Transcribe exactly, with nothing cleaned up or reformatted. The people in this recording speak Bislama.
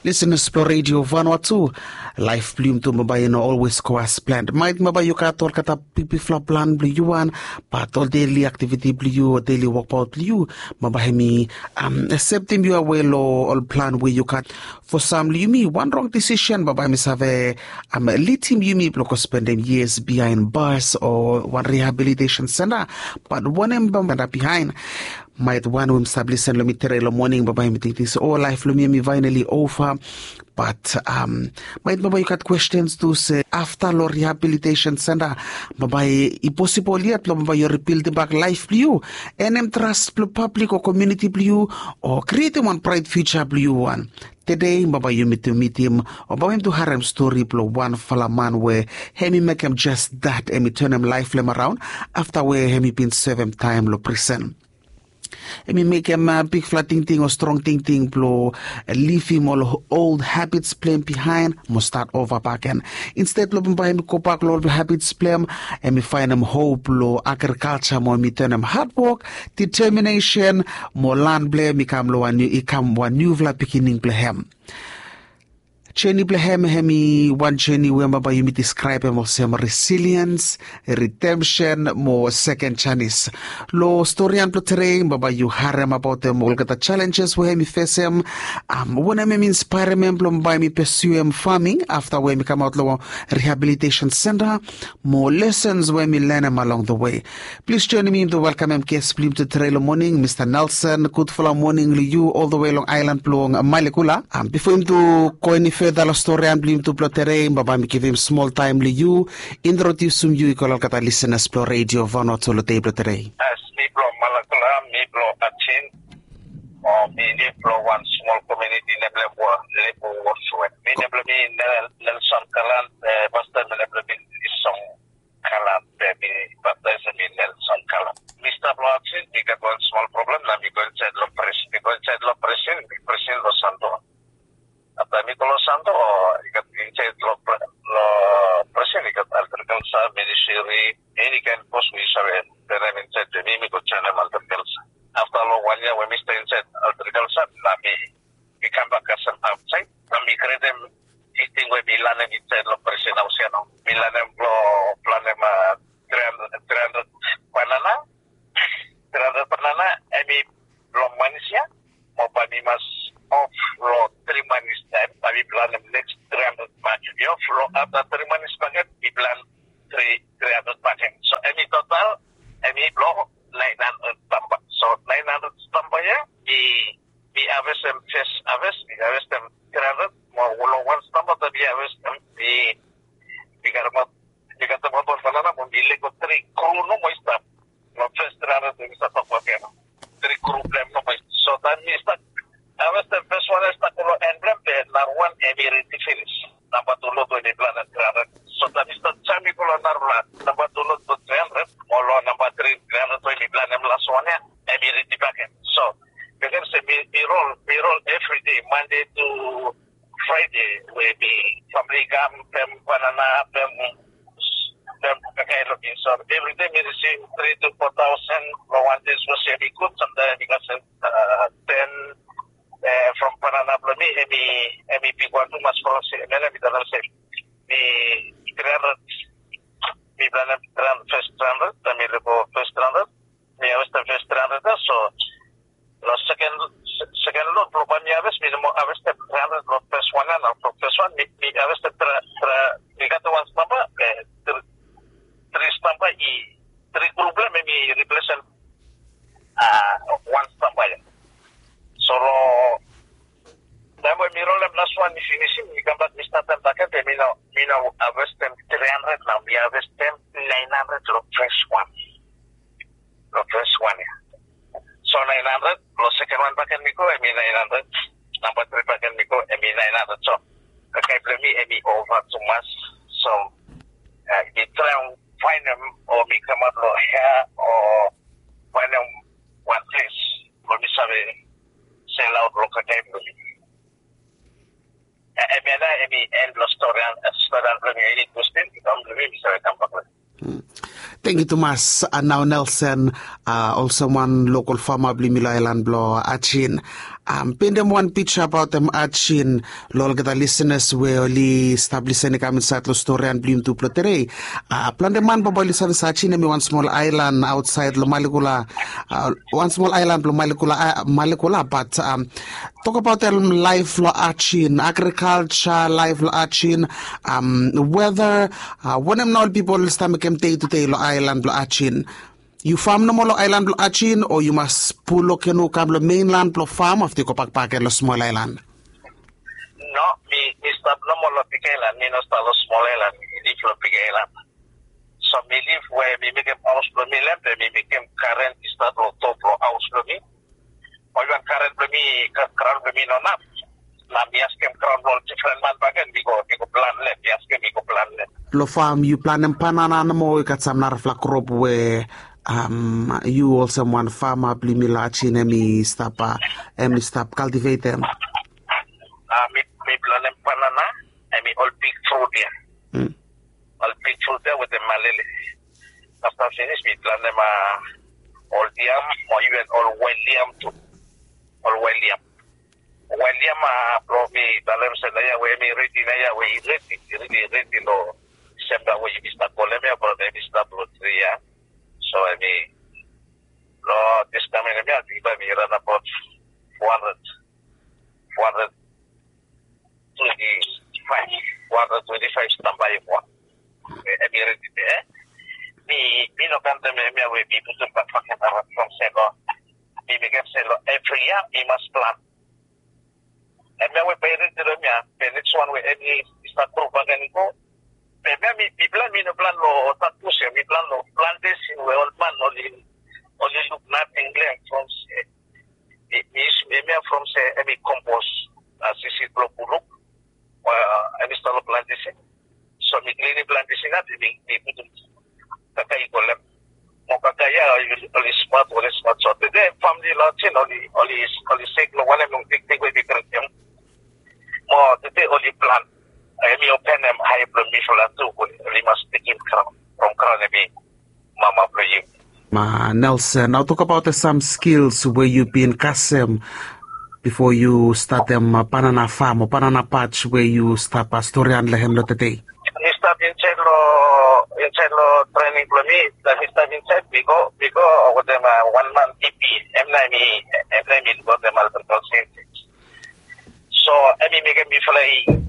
Lisenas blong redio vanua tu, laef blong yumi tu bambae i no olwes go as plan. Maet bambae yu gat olgeta bikbikfala plan blong yu wan, bat ol deli aktiviti blong yu o deli wokbaot blong yu, bambae hem i septem yu awe long ol plan we yu gat. Fo sam long yumi, wan rong disisen bambae hem i save lidim yumi blong go spendem yias biaen bas o wan rihabilitesen senta. Bat wanem bambae hem i stap biaen? Maet wan we hem i stap lisen long mi tede long moning bambae hem i tingting se o laef blong mi hem i faenali ova. Bat maet bambae yu gat kwestens tu se afta long rihabilitesen senta, bambae i posibol yet blong bambae yu ribildim bak laef blong yu, enem tras blong pablik o komiuniti blong yu, o krietim wan braet fiuja blong yu wan. Tede bambae yumi tu mitim o bambae yumi tu harem stori blong wanfala man we hem i mekem jes dat, hem i tanem laef blong hem araon afta we hem i bin sevem taem long prisen. Hem i mekem bigfala tingting o strong tingting blong livim ol ol habits blong hem biaen mo stat ova bakegen. Insted blong bambae hem i gobak long ol habits blong hem, hem i faenem hop long agrikalja mo hem i tanem hadwok, diteminesen mo lan blong hem i kam long wan niu i kam wan niufala pikinini blong hem. Jeni blong hem hem i wan jeni we bambae yumi diskraebem olsem resiliens, ridemsen mo seken janis. Long storian blong tede bambae yu harem abaotem olgeta jalenjes we hem i fesem. Wanem hem i inspaerem hem blong bambae hem i pesuem faming afta we hem i kamaot long rihabilitesen senta, mo lesens we hem i lanem along the we. Plis joenem yumi tu welkamem ges blong yumi tu tede long moning, mista Nelson. Gudfala moning long yu ol the we long aelan blong Malekula. Bifo yumi tu go eni feda long storian blong yumi tu blong tede, bambae mi givim smol taem long yu introdiusim yu i go long olgeta lisenas blong redio vanua tu long dei blong tede. As mi blong Malekula, mi blong Atin, o mi liv long wan smol komiuniti nem blong Lebu Woswe. Mi nem blong mi Nelson Kalan, pasta mi nem blong mi Isong Kalan, be mi baptaes mi Nelson Kalan. Mi stap long Atin, mi gat wan smol problem, nao mi go insaed long pres mi go insaed long presen mi presen long Santo. Afta mi go long Santo, i gat insaed long presen i gat agrikalsa, ministri, eni kaen pos we yu save. Be nao mi insaed be mi mi go joenem agrikalsa. Afta long wan yia we mi stap insaed agrikalsa, nao mi mi kambak kasem aotsaed. Nao mi gredem tingting we mi lanem insaed long presen haos ya nao. Mi lanem blong planem tri handred banana. Tri handred banana hem i blong manis ya. Mo bae mi mas of long tri manis taem bae mi planem neks tri handred bakegen. Mi of long afta tri manis bakegen mi plan tri tri handred bakegen. So hem i total hem i blong naen handred stamba. So naen handred stamba ya mi mi havestem fes haves mi havestem tri handred mo long wan stamba taem mi havestem mi mi karemaot mi katemaot wan banana mo mi lego tri kru nomo i stap. Long fes tri handred we mi stap tokbaot ya nao, tri kru blong hem nomo i stap. So taem mi stap havestem fes wan ya i stap go long en blong hem be narawan hem i redi finis. Namba tu lod we mi planem tri handred. So taem mi stap jaem mi go long narafala namba tu lod blong tri handred mo long namba tri tri handred we mi planem las wan ya hem i redi bakegen. So mekem se mi mi rol mi rol evride, Mande tu Fraede we mi famili i kam pem banana pem pem kakae long mi. So evride mi risivim tri tu fo taosen long wan dei sapos hem i gud samtaem hem i kasem ten from banana blong mi hem i hem i bigwan tumas from se mele mi talem se mi tri handred mi planem tri handred fes tri handred taem mi lego fes tri handred mi havestem fes tri handred ya. So long seken seken lod blong bae mi haves mi no moa havestem tri handred long fes wan ya nao. From fes wan mi mi havestem tri tri mi gat wan stamba, tri stamba i tri kru blong hem hem i riplesem wan stamba ya. So long taem we mi rolem las wan mi finisim mi kambak mi statem bakegen be mi no mi no havestem tri handred nao mi havestem naen handred long fes wan. Long fes wan ya. So naen handred long seken wan bakegen mi go hem i naen handred. Namba tri bakegen mi go hem i naen handred. So kakae blong mi hem i ova tumas. So mi traem faenem o mi kamaot long hea o faenem wan ples blong mi save selaot long kakae blong mi. Hemia nao hem i en blong storian blong mi. Eni kwestin i kam blong mi mi save kambak long. Tangkiu tumas. Nao Nelson, olsem wan lokol fama blong yumi long aelan blong Ajin. Am, pendem wan pija abaot em ajin long olgeta lisenas we oli stap lisen i kam insaet long storian blong yum tu blong tedei. A, plante man baba oli save se ajin em i wan smol aelan aotsaed long Malekula, a, wan smol aelan blong Malekula, a, Malekula, bat, am, tokabaot em laef long ajin, agrikalja laef long ajin, am, weta, a, wanem nao ol pipol oli stap mekem dei tudei long aelan blong ajin. Yu fam nomo long aelan blong ajin o yu mas puluk yu kam long meinlan blong fam afta yu gobak bakegen long smol aelan? No, mi mi stap nomo long big aelan, mi no stap long smol aelan, mi lif long big aelan. So mi lif we mi mekem haos blong mi long hem, be mi mekem garen i stap long top blong haos blong mi. Ol wan garen blong mi, graon blong mi no naf. Na mi askem graon blong ol difren man bakegen, mi go mi go plan lef, mi askem mi go plan lef. Long fam yu planem banana nomo o i gat sam narafala krop we, am, yu olsem wan fama blong yumi long ajin em i stap, a, em i stap kaltivetem? A, mi mi planem banana, em i ol big frut ya. Ol big frut ya wetem malele. Afta finis mi planem, a, ol yam o iven ol wael yam tu. Ol wael yam. Wael yam, a, blong mi talem se naoia we em i redi, naoia we i redi, i redi, i redi long Disemba we yumi stap kolem ya, blong em i stap long tri ya. So em i long dis kamin em ya, ating bae mi ran abaot fo handred, fo handred twenti faef, fo handred twenti faef stamba ya. Em i redi de, e? Mi mi no kantem hemia we mi putum bakfakem around from se long, mi mekem se long evri yia mi mas plan. Hemia we bae i redi long hemia, be neks wan we hemi i stap gro bakegen i go. Be hemia mi plan, mi no plan long sapos ya, mi plan long plantesin we ol man oli oli luk nating long hem from se mi mi yusum hemia from se hemi kompos, a, sisid blong puluk. Hemi stap long plantesin. So mi klinim plantesin ya, mi mi putum kakae i go long hem. Mo kakae ya oli smat, oli smat. So tede famili long Ajen oli oli oli sek long wanem, long tingting we mi bring dem. Mo tede oli plan. Hemi openem ae blong mifala tu we oli mas tekem graon, from graon hemi mama blong yu. Ma Nelson, nao tokabaot sam skils we yu bin kasem bifo yu statem banana fam o banana patch we yu stap storian long hem long tede? Mi stap insaed long, insaed long trening blong mi, taem mi stap insaed mi go, mi go wetem wan man, P P, hem nao hemi, hem nao hemi lukaotem ol agrikalja. So hemi mekem mifala i